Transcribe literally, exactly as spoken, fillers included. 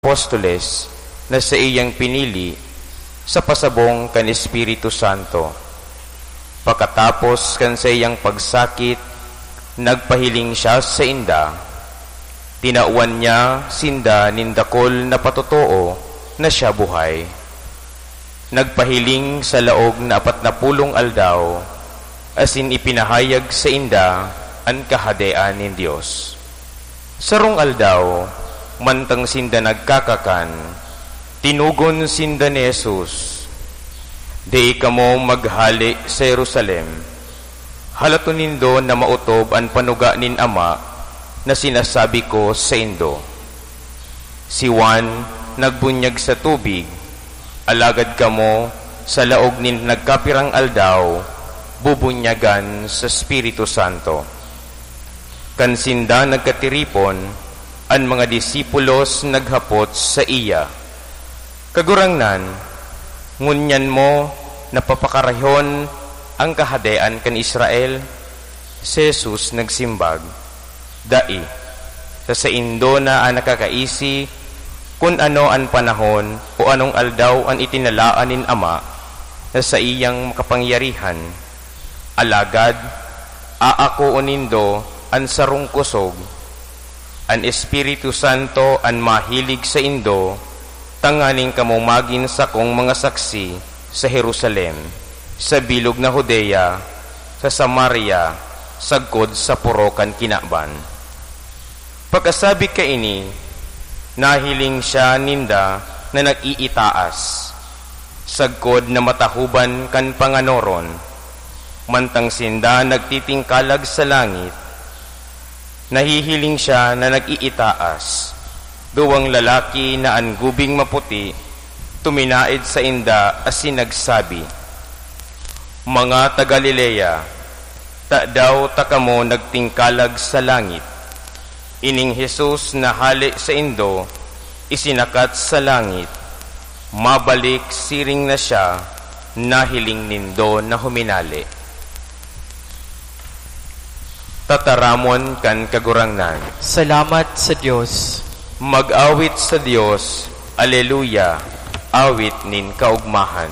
apostoles na saiyang pinili sa pasabong kan Espiritu Santo. Pakatapos kan saiyang pagsakit, nagpahiling siya sainda. Tinawan niya sinda nin dakul na patotoo na siya buhay. Nagpahiling sa laog na apat na pulong aldaw, asin ipinahayag sainda an Kahadean nin Dios. Sarong aldaw, mantang sinda nagkakakan, tinugon sinda ni Jesus, "Dai kamo maghale sa Jerusalem. Halaton nindo na maotob an panuga nin Ama na sinasabi ko saindo. Si Juan nagbunyag sa tubig, alagad kamo, sa laog nin nagkapirang aldaw, bubunyagan sa Espiritu Santo." Kan sinda nagkatiripon, an mga disipulos naghapot saiya, "Kagurangnan, ngunyan mo na papakarahon an Kahadean kan Israel?" Si Jesus nagsimbag, "Dai. Sa saindo na an nakakaisi kun ano an panahon o anong aldaw an itinalaan nin Ama na saiyang makapangyarihan. Alagad, aakoon nindo an sarong kosog. An Espiritu Santo an mahilig saindo, tanganing kamo magin sakong mga saksi sa Jerusalem, sa bilog na Judea, sa Samaria, sagkod sa poro kan kinaban." Pakasabi kaini, nahiling siya ninda na nag-iitaas, sagkod na matahoban kan panganoron. Mantang sinda nagtitingkalag sa langit, nahihiling siya na nag-iitaas. Duwang lalaki na an gubing maputi tuminaed sainda asin nagsabi, "Mga taga Galilea, tadaw ta kamo nagtingkalag sa langit? Ining Jesus na hale saindo, isinakat sa langit, mabalik siring na siya nahiling nindo na huminale." Tataramon kan Kagurangnan. Salamat sa Dios. Mag-awit sa Dios. Aleluya! Awit nin kaogmahan.